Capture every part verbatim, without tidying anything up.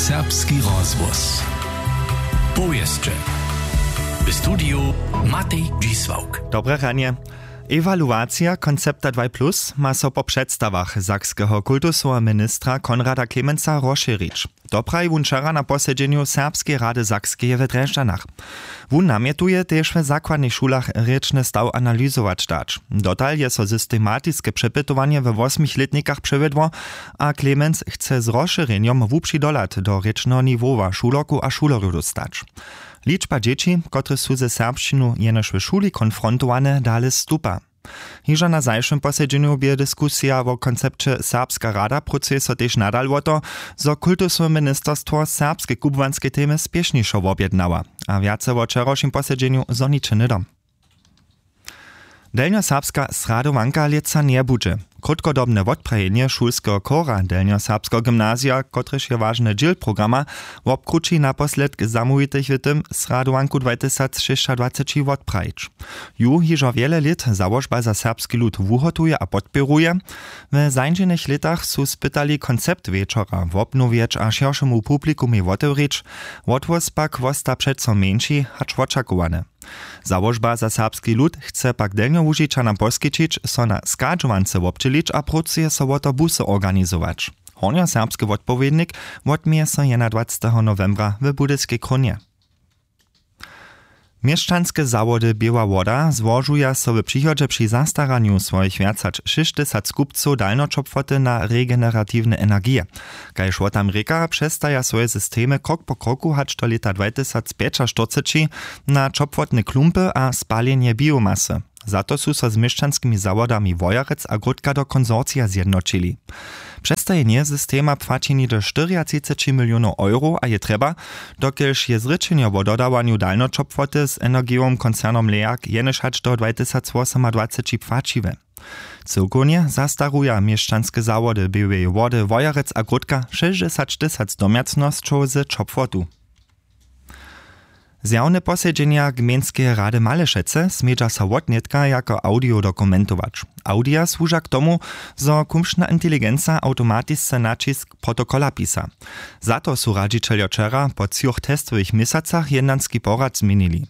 Serbski rozhłos. Powěsće. W studiju Matej Dźisławk. Dobre ranje. Ewaluacija koncepta dwaj plus ma so po předstawach sakskeho kultusoweho ministra Konrada Klemensa rozšěrić. To praji wón wčera na posedźenju Serbskeje rady Sakskeje w Drježdźanach. Wón namjetuje, tež w zakładnych šulach rěčny staw analyzować dać. Dotal je so systematiske přepytowanje we wosmich lětnikach přewjedło a Clemens chce z rozšěrjenjom wupři dohlad do rěčneho niwowa šulerkow a šulerjow dóstać. Ličba dźěći, kotrež su ze serbšćinu jenož w šuli konfrontowane, dale stupa. Hižo na zašłym posedźenju bě diskusija wo koncepće Serbska rada prócuje so tež nadal wo to, zo kultusowe ministerstwo serbske kubłanske temy spěšnišo wobjednała a wjace wo wčerawšim posedźenju zhoniće hnydom. Delnjoserbska sradowanka lětsa njebudźe. Krótkodobne wotprajenje šulskeho chora delnjoserbskeho gymnazija, kotrež je wažny dźěl programa, wobkrući naposledk zamołwitych w tym sradowanku dwajtysacšěsćadwaceći wotprajić. Ju hižo wjele lět załožba za serbski lud wuhotuje a podpěruje. W zańdźenych lětach su spytali koncept wječora wobnowjeć a šěršemu publikumej wotewrić. Wotwóz pak wosta přeco mjeńši hač wočakowane. Załožba za serbski lud chce pak delnjołužičanam poskićić so na schadźowance wobdźělić a prócuje so wo to busy organizować. Hornjoserbski wotpowědnik wotměje so jedynadwaceteho nowembra w budyskej krónje. Měšćanske zawody běła woda złožuja so w přichodźe při zastaranju swojich wjac hač šěsćtysac kupcow dalnjoćopłoty na regeneratiwne energije. Kaž wo tam rěka, přestaja swoje systemy krok po kroku hač do lěta dwajtysacpjećaštyrceći na ćopłotne klumpy a spaljenje biomasy. Za to su so z měšćanskimi zawodami wojerec a gródka do konsorcija zjednoćili. Přestajenje systema płaći něhdy štyriatřiceći milionow euro a je trjeba, dokelž je zrěčenjo wo dodawanju dalnjoćopłoty z energijowym koncernom leag jenož hač do dwajtysacwosomadwaceći płaćiwe. Cyłkownje zastaruja měšćanske zawody běłeje wody wojerec a gródka šěsćdźesattysac domjacnosćow z ćopłotu. Zjawne posedźenja gmejnskeje rady malešecy smědźa so wotnětka jako audio dokumentować. Audia słuža k tomu, zo kumšna inteligenca awtomatisce naćisk protokola pisa. Za to su radźićeljo wčera po třoch testowych měsacach jednanski porad změnili.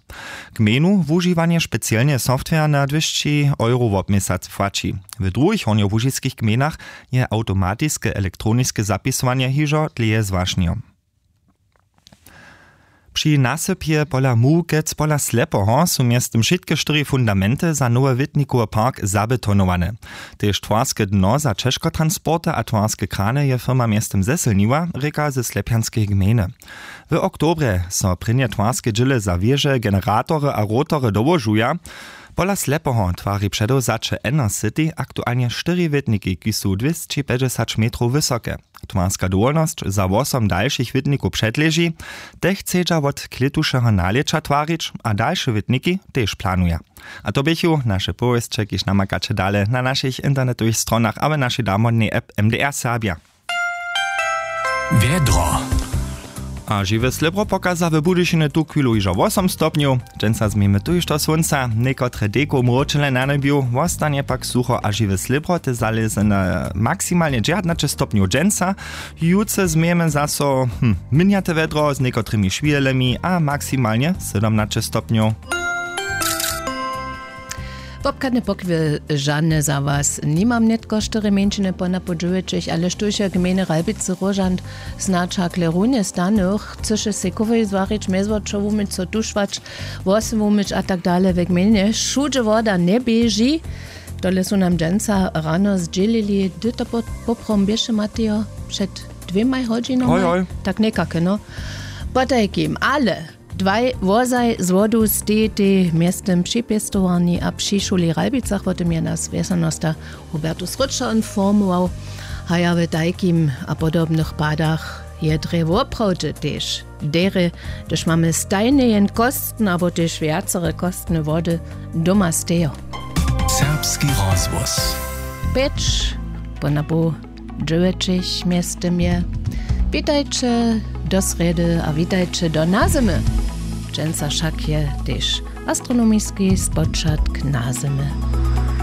Gmejnu wužiwanje specielneje software na dwěsći euro wobměsac płaći. W druhich hornjołužiskich gmejnach je awtomatiske elektroniske zapisowanje hižo dlěje zwašnjo. Při nasypje pola mułkec pola slepoho su mjeztym wšitke štyri fundamenty za nowy witnikowy park zabetonowane. Tež twarske dno za ćežkotransporty a twarske krany je firma mjeztym zesylniła, rěka ze slepjanskeje gmejny. W oktobrje so prěnje twarske dźěle za wěže generatory a rotory dołožuja. Pola slepoho twari předewzaće enercity aktualnje štyri wětniki kiž su dwěsći pjećdźesać metrow wysoke. Twarska dowolnosć za wosom dalšich wětnikow předleži. Te chcedźa wot klětušeho nalěća twarić a dalše wětniki tež planuja. A to běchu naše powěsće kiž namakaće dale na našich internetowych stronach a w našej damodnej app mdr serbja. Wjedro. A žiwe slěbro pokaza w budyšiny tuchwilu hižo wosom stopnjow. Dźensa změjemy tuž do słónca, někotre dejkow mróčele na njebju wostanje pak sucho a žiwe slěbro te zalěze na maksimalnje dźewjatnaće stopnjow dźensa. Jutře změjemy zaso hm, mjenjate wjedro z někotrymi šwihelemi a maksimalnje sydomnaće stopnjow. Popchadne pochwy žane za was nimam nětko štyri mjeńšiny po napoł dźewjećich ale štóž je gmejny ralbicy róžant, snadź hakle runje stanych chcyše sej kowej zwarić mjezwočo wuměć so tušwać, włosy wumyć a tak dale we gmejnje wšudźe woda njeběži. Tole su nam dźensa rano zdźělili hdy to poprom běše matejo, před dwěmaj hodźinoma? Tak někake no. Potajkim ale dwaj wozaj z wodu stejitej mjeztym připěstowarni a při šuli w ralbicach wo tym je nas wjesanosta hubertus rutšer informował. Haja w tajkim a podobnych padach je drje woprawdźe tež derje, hdyž mamy stajnje jen kostne abo tež wjacore kostne wody doma stejo. Serbski rozhłos. Pjeć po napoł dźewjećich mjeztym je. Witajće do srjedy a witajće do nazymy. Dźensa wšak je tež astronomiski spočatk nazymy.